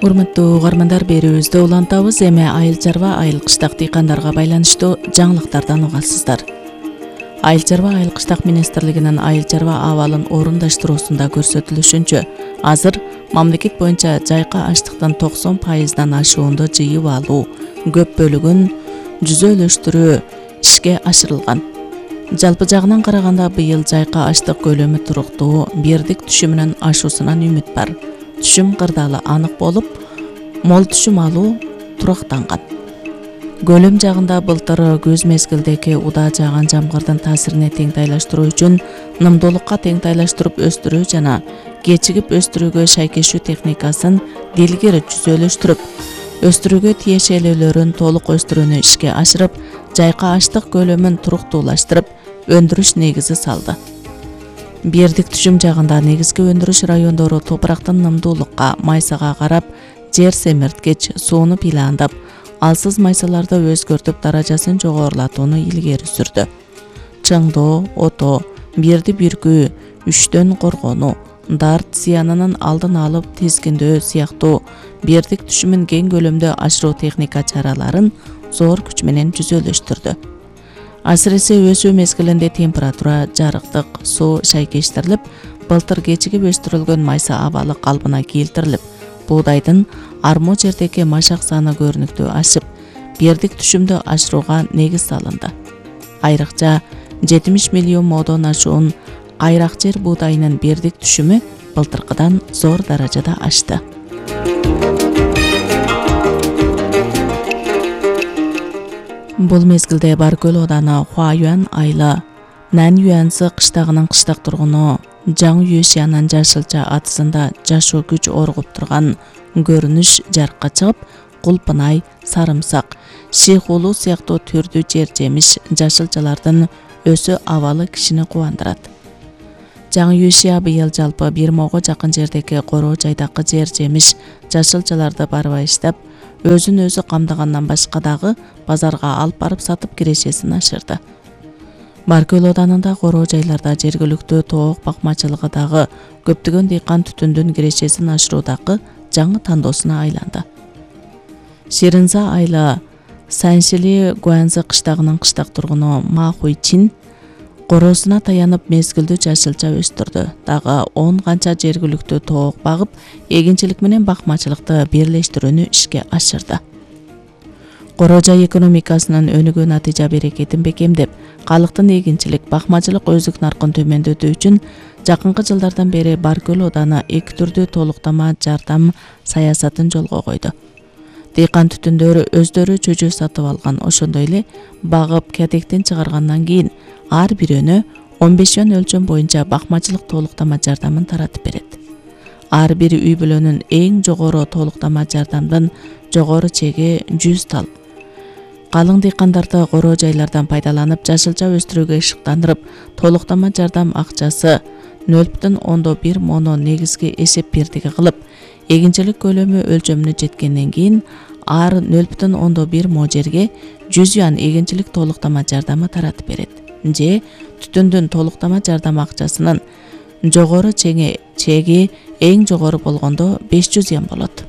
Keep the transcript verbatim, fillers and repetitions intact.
Урматтуу угармандар, берүүбүздү улантабыз. Эми айыл чарба, айыл кыштак дыйкандарга байланыштуу жаңылыктардан угасыздар. Айыл чарба, айыл кыштак министрлигинин айыл чарба абалын орундаштыруусунда көрсөтүлүшүнчө, азыр мамлекет боюнча жайка аштыктын токсон пайыздан ашуунду жыйып алуу, көп бөлүгүн жүзөлөштүрүү ишке ашырылган. Жалпы жагынан караганда быйыл жайка аштык көлөмү туруктуу, бирдик түшүмүнүн ашуусунан үмүт бар. Түшүм кырдаалы анык болуп, мол түшүм алуу турактанган. Көлөм жагында былтыр көз мезгилдеги удаа жааган жамгырдын таасирине теңтайлаштыруу үчүн нымдуулукка теңтайлаштырып өстүрүү жана кечигип өстүрүүгө шайкешүү техникасын дилгери жүзөлөштүрүп, өстүрүүгө тиешелүүлөрүн толук өстүрүүнү ишке ашырып, жайка аштык көлөмүн туруктуулаштырып, өндүрүш негизи салды. Бирдик түшүм жагында негизги өндүрүш райондору топурактын нымдуулукка, майсага карап, жер семирткич, сууну пландап, алсыз майсаларды өзгөртүп, даражасын жогорулатууну илгери сүрдү. Чыңдоо, ото, бирди бүркүү, үчтөн коргонуу, дарт зыянынын алдын алып тизгиндөө сыяктуу бирдик түшүмүн кең көлөмдө ашыруу техника чараларын зор күч менен жүзөлөштүрдү. Асыресе өсүү мезгилинде температура, жарыктык, суу шайкештирилип, былтыр кечигип өстүрүлгөн майса абалы калыбына келтирилип, буудайдын армо жердеги машак саны көрүнүктүү ашып, бирдик түшүмдү ашырууга негиз салынды. Айрыкча жетимиш миллион модон ашуун кайрак жер буудайынын бирдик түшүмү былтыркыдан зор даражада ашты. Бул мезгилде Баркөл ооданы Хуаюан айылы Нанюансы кыштагынын кыштак тургуну Жаң Юшянын жашылча атысында жашоо күч оргуп турган көрүнүш жарыкка чыгып, кулпунай, сарымсак, шийхулуу сыяктуу түрдүү жер жемиш жашылчалардын өсү абалы кишини кубандырат. Жаң Юшя быйыл жалпы бир мыңга жакын жердеги короо жайдакы жер жемиш жашылчаларды барбай иштеп, өзүн өзү камдагандан башка дагы базарга алып барып сатып кирешесин ашырды. Баркөл оодарында короо жайларда жергиликтүү тоок бакмачылыгы дагы көптөгөн дыйкан түтүндүн кирешесин ашыруудагы жаңы тандоосуна айланды. Ширинза айылы Саншили Гуанзы кыштагынын кыштак тургуну Ма Хуйчин короосуна таянып мезгилдүү жашылча өстүрдү. Дагы он канча жергиликтүү тоок багып, эгинчилик менен бакмачылыкты бирлештирүүнү ишке ашырды. Короо жай экономикасынын өнүгүү натыйжа берекетин бекемдеп, калктын эгинчилик, бакмачылык өзүк наркын төмөндөтүү үчүн жакынкы жылдардан бери Баркөл ооданы эки түрдүү толуктама жардам саясатын жолго койду. Дыйкан түтүндөр өздөрү чөчө сатып алган, ошондой эле багып кәдектен чыгаргандан кийин ар бирөөнө он беш жөн өлчөм боюнча бакмачылык толуктама жардамын таратып берет. Ар бир үй бүлөнүн эң жогору толуктама жардамдын жогору чеги жүз тал. Калың дыйкандарды короо жайлардан пайдаланып, жашылча өстүрүүгө ышыктандырып, толуктама жардам акчасы нөл бүтүн ондон бир моно негизги эсеп бирдиги кылып, эгинчилик көлөмү өлчөмүнө жеткенден кийин ар нөл бүтүн ондон бир мо жерге жүз юан эгинчилик толуктама жардамы таратып берет. Же түтүндүн толуктама жардам акчасынын жогору чеги эң жогору болгондо беш жүз юан болот.